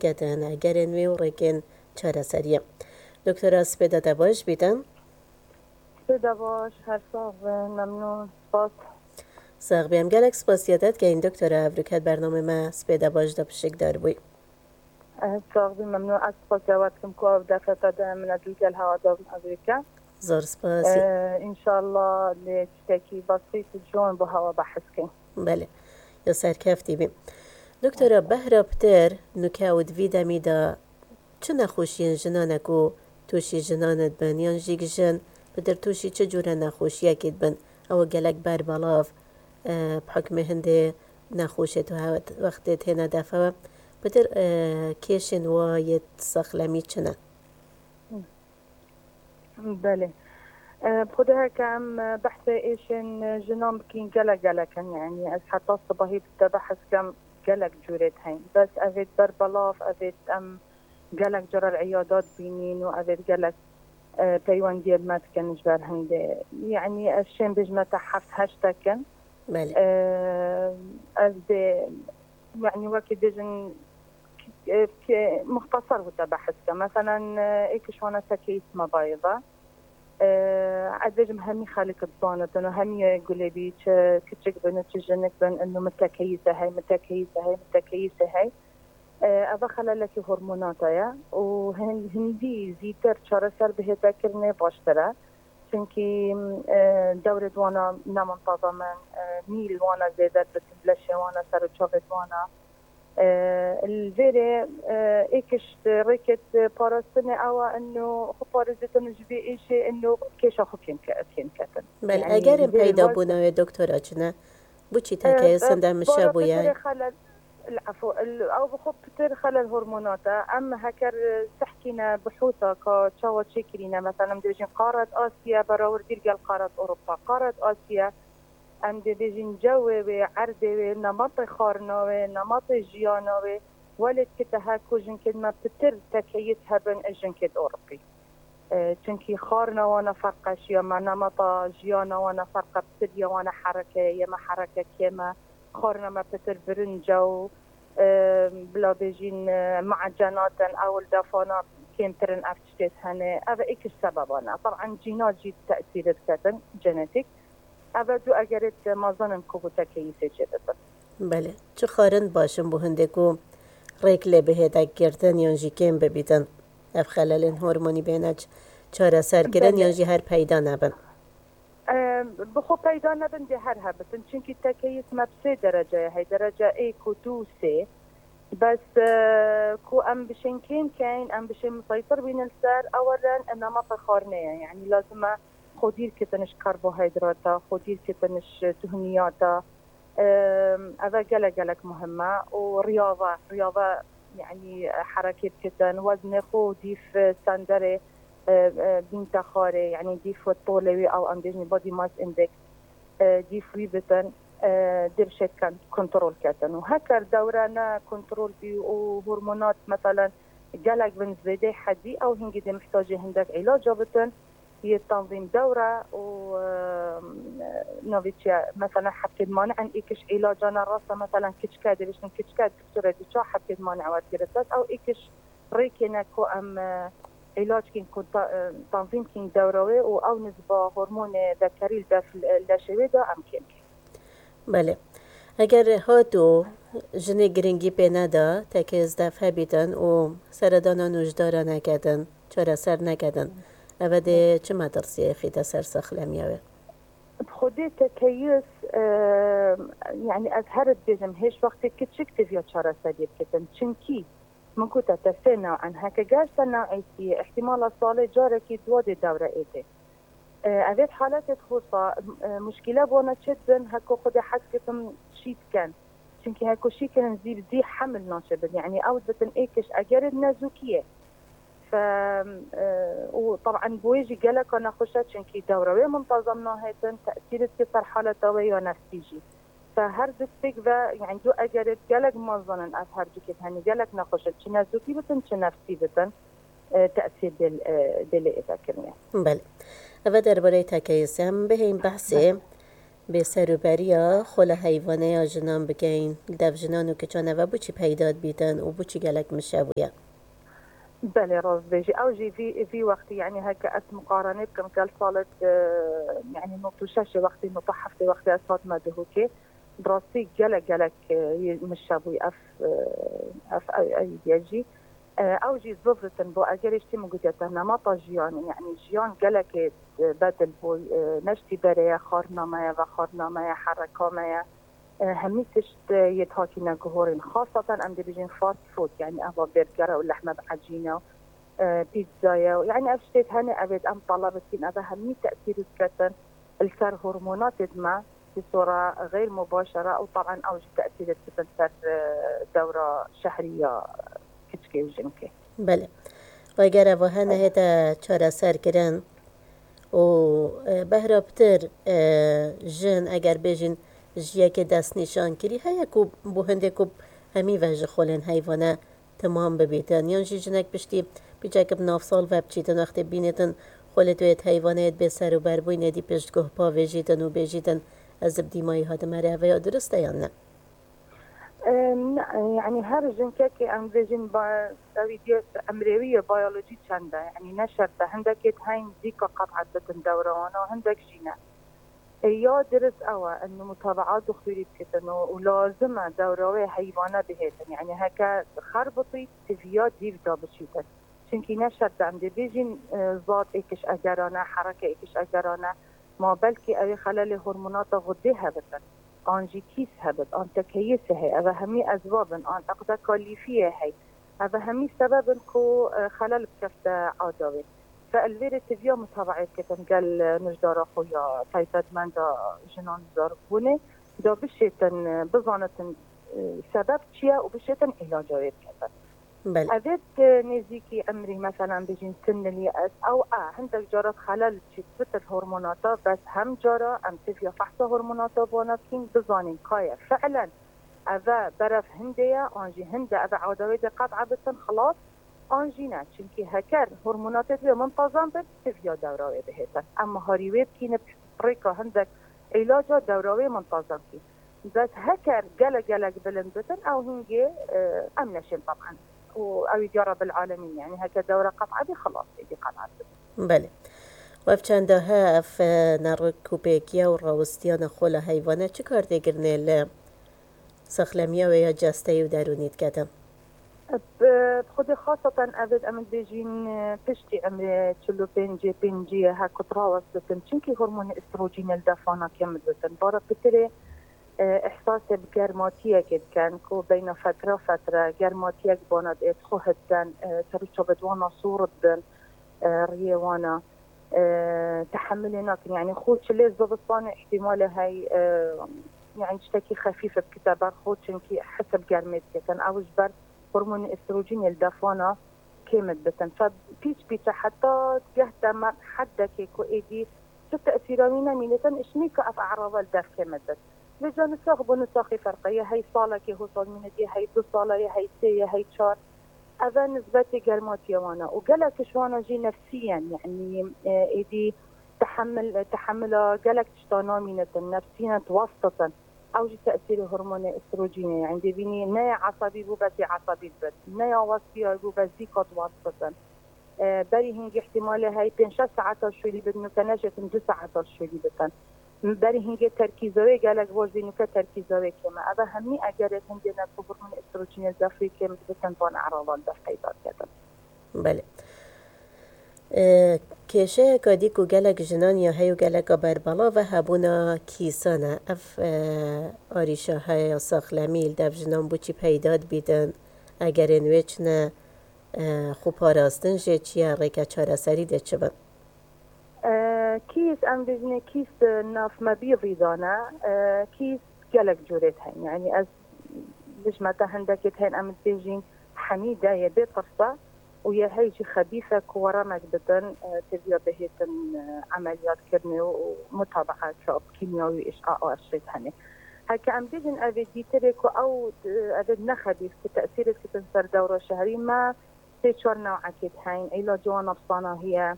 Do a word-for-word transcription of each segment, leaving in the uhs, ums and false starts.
ketin, egerên wê û rêkên çareseriyê. Doktora, spêda te baş bîtin. Spêda baş, her sax bin, memnûn, spas. Sax bî, em gelek spasiya te dikeyin doktora, evroket bernamê me spêda baş de pişikdar bûy. Ez sax bî, memnûn. Ez spasiya we dikim ku ev derfeta de min ez li gel hewa de evroke. Zor spas. Ee, înşallah lê tiştekî besît û ciwan bo hewa behs kin. Belê. Ya serkeftî bî. Doktora, behra pitir nuke û di vî demî de çi nexweşiyên jinan e ku tûşî jinan dibin, yan jî jin pitir tûşî çi cûre nexweşiyekî dibin? Ew gelek berbelav, e, bi hukmê hindê nexweşê tu hewet wextê têne defe we. Pitir, e, kêşên wa yê sexlemî çi ne? Belê. E, bi xwedê heke em, e, behsê êşên, e, jinan bikîn gelek gelek in. Yanî ez heta sibahî bi te behs kem gelek cûrê heyn. Bes evêt berbelav, evêt em gelek carar îyada dibînîn û evêt gelek, e, peywendiyê me dikin ji ber hindê. Yanî ez şên bêjime te heft heştek in. Belê. E, ez dê, yanî wekî bêjin, e, ke muxtasar bû te behs ke. Meselen, e, êk ji wana tekeyîs me bayê ve. E, ez bêjim hemî xelk dizanitin û hemî gulê bî, çi kiçik bin û çi jinik bin, inu min tekeyîse hey, min tekeyîse hey, min tekeyîse hey. E, eva xelalekî hormonata ye û hin-, hindî zîtir çareser bihête kirinê baştir e. Çimkî, e, dewrê di wana ne muntazam in, e, mî li wana zêde dibitin, leşê wana, ser û çavê di wana. E, li vêrê, e, êkiş rêkêt parastinê ew e, ino xwe parêzêtin ji vê êşê, ino kêşa xwe kêm ke-, kêm ketin. Belê, yanî egerên vêrê peyda wek bûna wê doktora çi ne? Bo çî E, tekeyê e, sinde mişe bûye? Pitirê xelel, el-, efû, el-, ew bi xwe pitir xelel hormonat e. Em heker, e, sehkîne bihûsa ka çawa çêkirîne. Mesela em dibêjin qaret Asya berawir dîr gel qaret Ewropa. Qaret Asya, em dibêjin cewê wê, erdê wê, nematê xwarina wê, nematê jiyana wê, welê dikite he ku jinkên me pitir tekeyît hebin ji jinkêt Ewropî. E, çimkî xwarina wana ferqeşiya me, nemata jiyana wana ferqe, pitir ya wana herekeyê, yê me hereke kêm e, xwarina me pitir birinc e û, e, bila bêjîn, e, me'ecenat in, ew li defana kêmtir in ev tiştê hene. Ev êk ji sebeban e. Teban cîna jî tesîrê diketin, genetîk. Ev du egerêt mezin in ku bû tekeyîsê çêbitin. Belê. Çi xwarin baş in bo hindê ku rêk lê bihête girtin yan jî kêm bibîtin? Ev xelalên hormonî bêne ç-, çareserkirin Belê. yan jî her peyda nebin? Em, bi xwe peyda nebin dê her hebitin. Çimkî tekeyîs me bi sê dereceye hey. Derece êk û du û sê. Bes, e, ku em bişên kêm keyn, em bişên miseytir bînin li ser, ewelen nemata xwarinê ye. Yanî lazim e xwe dîr kitin ji karbohîdrata, xwe dîr kitin ji duhniyata. Em, ev e gelek gelek muhim e. Û riyade, riyade, yanî, e, herekê bikitin, weznê xwe dîf, e, standerê, e, e, bînte xwarê, yanî dîf tolê wî, ew em bêjin body mass index, e, dîf wî bitin, e, dê bişêt kon-, kontrol ketin. Û heker dewre ne kontrol bî û hormonat, meselen, gelek bin zêdê hedî, ew hingî dê mihtacê hindek îlaca bitin, yê tanzîm dewre û, e, navê çi ye, mesela, hebkên mani'in êkiş îlacane rasta, mesela, kiçke, dibêjin kiçke, doktorê dê çawa hebkên mani'e wergire dest, ew êkiş rêkê ne ku em, e, îlac kîn ku ta-, e, tanzîm kîn dewre wê û ew nizba hormonê zekerî li def-, leşê wê de em kêm kîn. Belê. Eger hat û jinê giringî pê neda, tekê zedef hebîtin û seredana nûjdara nekedin, çareser nekedin, eve dê çi metirsiyê xîte ser sexlemiya wê? Bi xwedê tekeyis, e, yanî ez her dibêjim, hêj wextê kiçik diviya çareseriyê bikitin. Çimkî min gote te sê new'in, heke ger ser new'ê siyê, ihtimala salê carekî dua dê dewre êdê. E, evêt haletê dixusa, e, muşkîle bona çêt bin, heko xwedê hez kitim şî diken. Çimkî heko şî kirin zî bi zî hemil naçe bin. Yanî ew dibitin êkiş egerê nezûkiyê. Fe, e, û teban bo wê jî geleka nexweş e, çimkî dewre wê muntazam nahêtin, tesîr dike ser haleta wê ya nefsî jî. Fe her du tiştêk ve, yanî du egerêt gelek mezin in ev her dukê, henî gelek nexweş in, çi nezûkî bitin, çi nefsî bitin, e, tesîr dê, e, dê lê êvekirinê. Belê. Eve derbarê tekeyisê em bihên behsê. Bêserûberiya xola heyvaneya jinan bikeyin, li dev jinan û kiçan eve bo çi peyda dibîtin û bo çi gelek mişe bûye? Belê, rast bêjî. Ew jî vî, vî wextî, yanî heke ez muqarene bikim gel salê, e, yanî nod û şeş wextî, nod û heft wextî ez hatime Duhokê. Bi rastî gelek, gelek, e, yê mişe bûy ev, e, ev, ev, ev diye jî. E, ew jî zivritin bo egerê ji tî min gotiye te nemata jiyanê, yanî jiyan gelekê, e, bedil bûy, e, ne ji tî berê ye, xwarina me ye, vexwarina me ye, hereka me ye. E, hemî tişt, e, yê hatîne guhorên. Xaseten em dibêjin fast food, yanî eva bêrgere û lehme bi ecîne û, e, pîtza ye û, yanî ev ştêt hene, evêt em taleb dikin, eve hemî tesîr diketin li ser hormonatêt me, bi sora xeyr mubaşere û taban ew jî tesîr dikin ser, e, dewra şehrî ya kiçkê û jinkê. Belê. Eger eva hene hête çareser kirin û, e, behra pitir, e, jin eger bêjin ji yekê destnîşan kirî heye ku bo hindê ku hemî ve ji xolên heyvane timam bibîtin. Yan jî jinek piştî pîçek bi navsal ve biçîtin wextê bînêtin xolê tu yê heyvanê yê bê ser û ber bûyîn êdî piştguh pavêjîtin û bêjîtin ez bi dîmayî hatime rê, ev ya durist e yan ne? E, ne, yanî her jinkekê em bêjin ba-, ew ê diye emrê wî ye, biyolojî çend e. Yanî ne şert e. Hindekê heyîn zîka qet'et bikin dewra wana, hindek jî ne. E, ya dirist ew e, in mutaba'a doktorî bikitin û, û lazim e dewra wê heyvane bihêtin. Yanî heke xer bitî, tiviya dîv da biçîtin. Çimkî ne şert e, em dibêjin, e, zat êkiş egerane, hereke êkiş egerane. Ma belkî ew ê xelelê hormonata xwedê hebitin, an jî kîs hebit, an tekeyîs heye. Eve hemî ezbab in, an eqdeka lîfiyê hey. Eve hemî sebeb in ku, e, xelel bikefte ada wê. Fe li vê rê tiviya mutabaê bikitin gel, e, nijdara xwe ya taybetmenda jinan zarokbûnê da bişêtin, e, bizanitin, e, sebeb çi ye û bişêtin îlaca wê biketin. Belê. Evêt, e, nêzîkî emrî, meselen, bijîn sinilî ez, ew e, hindek cara xelel çît bitir hormonata, bes hem cara em tiviya fehsa hormonata bona bikîn, bizanîn ka ye fi'len eve beref hindê ye, an jî hinde eve ada wê de qet'a bitin, xilas, an jî ne. Çimkî heker hormonatê divê muntazam bin, tiviya dewra wê bihêtin. Em miharî wê bikîn, bi rêka hindek îlaca dewra wê muntazam kî. Bes heker gelek gelek bilind bitin, ew hingê, e, em neşên teban. Û ew ê diya Rebbil Alemîn, yanî heke dewre qet'a bî, xilas êdî qet'a dibin. Belê. Û ev çenda he, ev, e, nerikûpêkiya û rawistiyana xola heyvane çi kar tê kirinê li sexlemiya wê ya cesteyî û derûnî dikete? Bi, bi xwedê xaseten evêt em dibêjin, e, piştî emrê çil û pêncê, pêncî ye, her ku rawest bitin. Çimkî hormonê estrojînê li defana kêm dibitin. Bara pitirê, e, ihsasê bi germatiyekê dikin ku beyna fetra fetre germatiyek bona dê, xwe hidden, e, ser û çavê wana sor dibin, e, riyê wana, e, tehemilê nakin. Yanî xwe çilê zivistanê ihtimalê hey, e, yanî tiştekî xefîf bikite ber xwe, çimkî his bi germê diketin. Ew ji ber hormonê estrojînê li defana kêm dibitin. Fe pîç pîç e, heta geh te me heddekê ku êdî tu tesîra wî nemînitin, îşnî ka ev e'rava li dev kêm dibit. Vêca nisax bo nisaxî ferq e. Yê hey salekê hosal mînit, yê hey du sala, yê hey sê, yê hey çar. Eve nisbetê germatiya wan e. Û gelek ji wana jî nefsî ye, yanî, e, êdî tehemil, tehemila gelek tişta namînitin, nefsî ne, diwestitin. Ew jî tesîrê hormonê estrojînê ye. Yanî dibînî ne yê esebî bû, bes yê esebî dibit. Ne ya westiyar bû, bes zîka diwestitin. E, berî hingê ihtimalê hey pênc şeş saeta şûlî bidin, nûke neşêtin du saeta şûlî bikin. Berî hingê terkîza wê gelek baş bî, nûke terkîza wê kêm e. Eve hemî egerê hindê ne ku hormonê estrojînê li dev rê kêm dibitin, van e'rava li dev peyda diketin. Belê. E, kêşeyeka dî ku gelek jinan ya heye û geleka berbelav e hebûna kîsan e. Ev, e, arîşa heye ya saxlemî li dev jinan bo çi peyda dibîtin, egerên wê çi ne, e, xwe parastin jê çi ye, rêke çareserî dê çi bin? E, kîs, em bêjinê kîs, e, nav me bî vî dane, e, kîs gelek curêt heyne. Yanî ez bijme te hindekê heyne, em dibêjin henî de yê bê tirse û yê hey jî xebîse ku weremek bidin, e, têviya bihêtin, e, emeliyat kirinê û, û mutabaa çap kîmyawî, îş'a û ev şêt hene. Heke em bêjin ev ê dîtirê ku ew, e, ev ê ne xebîs ku tesîrê dikitin ser dewra şehrî me, sê çar newekê heyne, îlacê wan nefsana heye.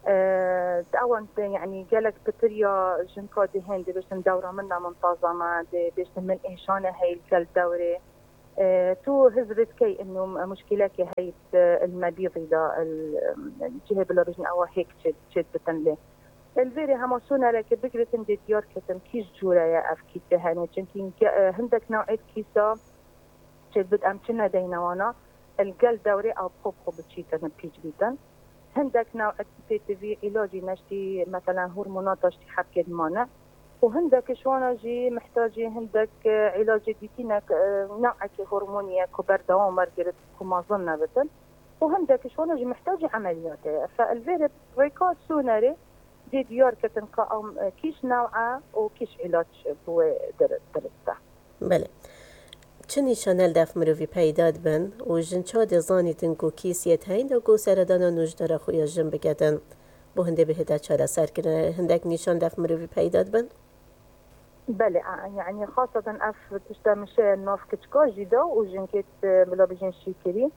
Ewan, yanî gelek pitir ya jinka dihên dibêjin dewra min ne min taza me, dibêjin min êşane hey li gel dewrê. Tu hizrî dikey inu muşkîlekê hey li mebîzî de cihê bila bêjin ewa hêk çêdibitin lê. Li vêrê hema sonereke bigiritin dê diyar ketin kîj cûre ye ev kîsê hene. Çimkî hindek new'ê kîsa çêdibit em çi nedeyne wana, li gel dewrê ew bi xwe bi xwe biçîtin pîç bîtin. Hindek new'ê kîsê tivî îlacî neştî, meselen hormonata ştî hebkê dimane. Û hindek ji wana jî mihtacî hindek îlacê dîtînek, new'ekê hormonî ye ku berdewam wergirit ku mezin nebitin. Û hindek ji wana jî mihtacî emeliyatê ye. Fe li vêrê rêka sonerê dê diyar ketin ka em kîş new'e û kîş îlaç bi wê dirist e. Belê. Çi nîşane li dev mirovî peyda dibin û jin çawa dê zanîtin ku kîsiyê teyn de ku seredana nojdara xwe ya jin biketin? Bo hindê bihête çareserkirinê hindek nîşan dev mirovî peyda dibin? Belê, yanî xaseten ev tişta mişeye nav kiçika jî de û jinkê bila bijin şîkirî.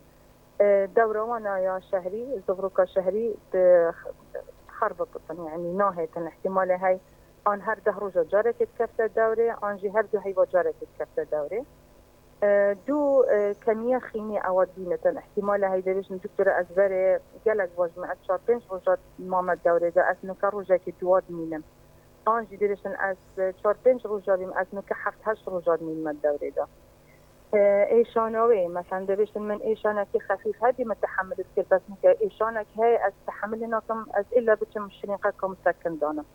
Dewra wana ya şehrî, zivroka şehrî dixerbibitin, yanî nahêtin. Îhtimalê hey an her deh roja carekê dikefte dewrê, an jî her du heyva carekê dikefte dewrê. Du kemiya xînî ewa dibînitin. Îhtimalê hey dibêjin, doktora, ez berê gelek vajime, ez çar pênc roja mame dewrê de, ez nike rojekê duwa dimînim. An jî dibêjin, ez çar pênc roja bîm, ez nike heft heşt roja dimînime dewrê de. Êşana wê, meselen dibêjin, min êşanekî xefîf hebî min tehemil dikir, bes nike êşanek heye, ez tehemilê nakim, ez îlla biçim şirînqeka misekin danim.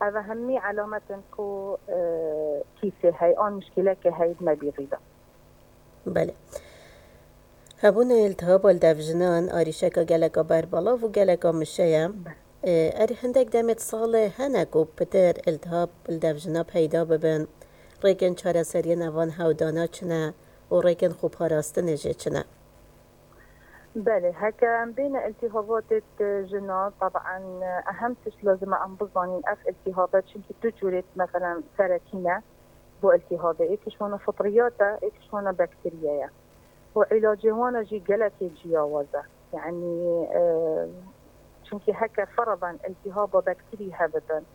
Eve hemî elamet in ku kîsê hey an muşkîleke hey di mebîrî de. Belê. Hebûna iltihaba li dev jinan arîşeka geleka berbelav û geleka mişe ye. Erê hindek demê di salê hene ku pitir iltihab li dev jina peyda bibin, rêkên çareseriyên evan hewdana çi ne û rêkên xweparastinê jî çi ne? Belê, heke em bêne iltihabatê di jina, taban ehem tişt lazim e em bizanîn ev iltihabe çimkî du cûrê, meselen serekî ne bo iltihabê. Êk ji wana fitriyat e, êk ji wana bakteriye ye. Û îlacê wana jî gelekê ciyawaz e. Yanî, e, çimkî heke feraban iltihaba bakterî hebibin,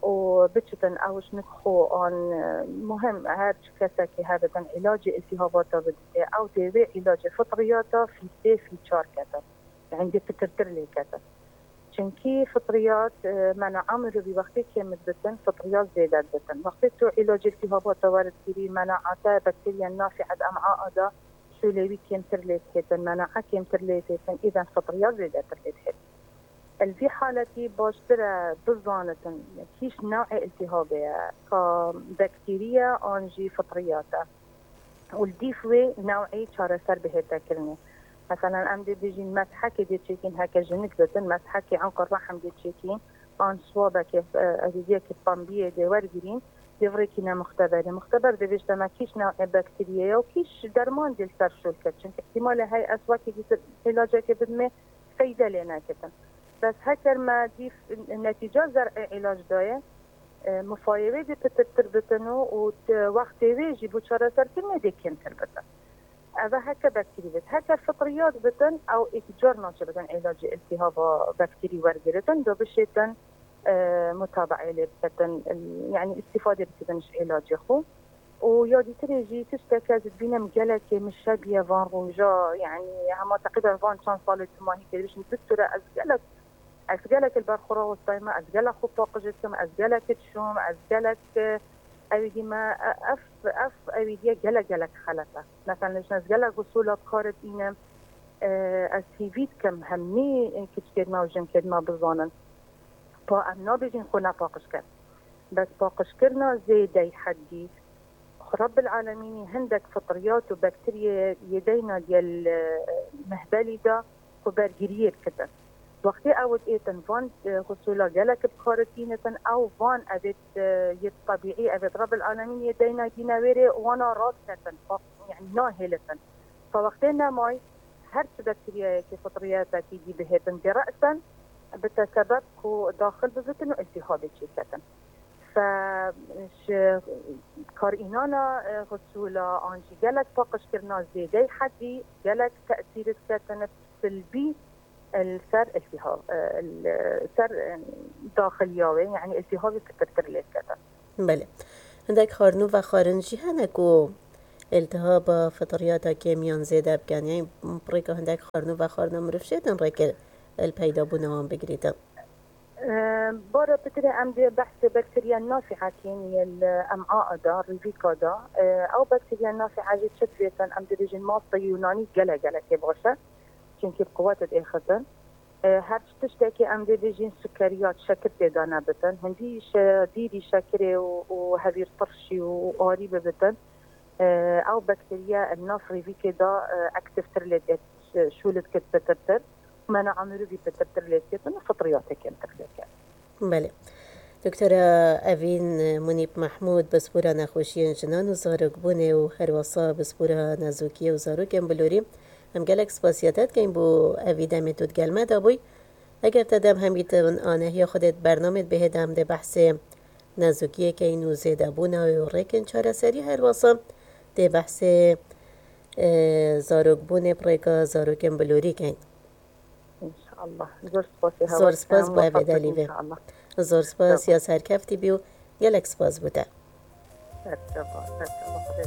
û biçitin ew ji nik xwe an, e, muhim her çi kesekî hebibin îlacê iltihabata biditê, ew dê wê îlacê fitriyata fî sê fî çar ketin. Yanî dê pitirtir lê ketin. Çimkî fitriyat, e, mena'a mirovî wextê kêm dibitin, fitriyat zêde dibitin. Wextê tu îlacê iltihabata weridgirî, mena'a te bakteriya nafî ed em'a a da şûlê wî kêmtir lê dihêtin, mena'a kêmtir lê dihêtin, îden fitriyat zêdetir lê dihêtin. Li vî haletî baştir e bizanitin kîş new'ê iltihabê ye, ka bakterî ye an jî fitriyat e. Û li dîf wê new'ê çareser bihête kirinê. Meselen, em dê bijîn meshekê dê çêkîn, heke jinik bitin, meshekê enqa rehm dê çêkîn, an swabekê, e, ezîziyekê pembiyê dê wergirîn, dê virêkîne muxteberê. Muxteber dê bêjte me kîş new'ê bakteriyê ye û kîş derman dê li ser şûl ket. Çimkî îhtimalê heye ez wekî dîtir îlacekê bidimê, feyde lê neketin. Bes heker me dîf netîca zer'ê îlac daye, e, mifayê wê dê pitirtir bitin û, û di wextê wê jî bo çareserkirinê dê kêmtir bitin. Eve heke bakterî bit. Heke fitriyat bitin, ew êk car naçe bitin îlacê iltihaba bakterî wergiritin, do bişêtin, e, mutabe'ê lê biketin, yanî îstîfadê bikitin ji îlacê xwe. Û ya dîtirê jî tişteke ez dibînim gelekê mişe biye van roja, yanî hema teqrîben van çend salê dumahî kê dibêjin, doktora, ez gelek, ez gelek li ber xwe rawestayme, ez gelek xwe paqij dikim, ez gelek dişom, ez gelek, e, ewîdî me, e, ev, ev ewîdiye gelek, gelek xelet e. Mesela, ez gelek usûla bi kar dînim, e, ez hîvî dikim hemî kiçikêd me û jinkêd me bizanin. Pa em nabêjin xwe nepaqij ket. Bes paqijkirina zêdey heddî, Xwe Rebbil Alemînî hindek fitriyat û bakteriyê yê deyna diye li mehbelî de xwe bergiriyê bikitin. Wextê ew diêtin van, e, xusûla gelek bi kar tînitin, ew van evêt, e, yê tebîî, evêt Rebbil Alemîn yê deyna dîne wêrê wana radiketin, fa-, yanî nahêlitin. Fa wextê nemay, her çi bakteriyayekî fitriyatekî dî bihêtin dê re'sen bite sebeb ku daxil bibitin û iltîhabê çêketin. Fe ji karînana, e, xusûla an jî gelek paqijkirina zêdey hedî, gelek tesîr diketin silbî li ser iltihab, e, li ser, e, daxiliya wê, yanî iltihabê pitirtir lê diketin. Belê. Hindek xwarin û vexwarin jî hene ku iltihaba fitriyata kêmiyan zêde bikin. Yanî bi rêka hindek xwarin û vexwarina mirov şêtin rêkir li peydabûna wan bigirîtin. Bara pitirê em dê behsê bakteriya nafîa kêmiyê li em'a da, rîvîka da. Ew bakteriya nafîa jî çi divêtin, em dibêjin mastê Yûnanî gelek gelekê baş e. Çimkî bi quwet diêxizin. Her tiştekê em dê bêjin sukeriyat, şekir tê de nebitin. Hindî şe-, dîrî şekirê û, û hevîrtirşî û arî bibitin. Ew bakteriya li nav rîvîkê de aktîftir lê dê şûl dikit pitirtir. Mena'a mirovî pitirtir lê diketin û fitriyatê kêmtir lê diketin. Belê. Doktora Evîn Munîb Mehmûd, pispora nexweşiyên jinan û zarokbûnê û herwesa pispora nezokiyê û zarokên bilorî, em gelek spasiya te dikeyn bo evî demê tu di gel me de bûy. Eger te dem hemî di anehiya xwe de di bernamê dibihê de em dê behsê nezokiyê keyn û zêdebûna wê û rêkên çareserî herwesa dê behsê, e, zarokbûnê bi rêka zarokên bilorî keyn. Înşallah. Zor spasê hewa. Zor spas bo evê delî vê. Zor spas ya serkeftî bî û gelek spas bo te. Serkeva, serkeva.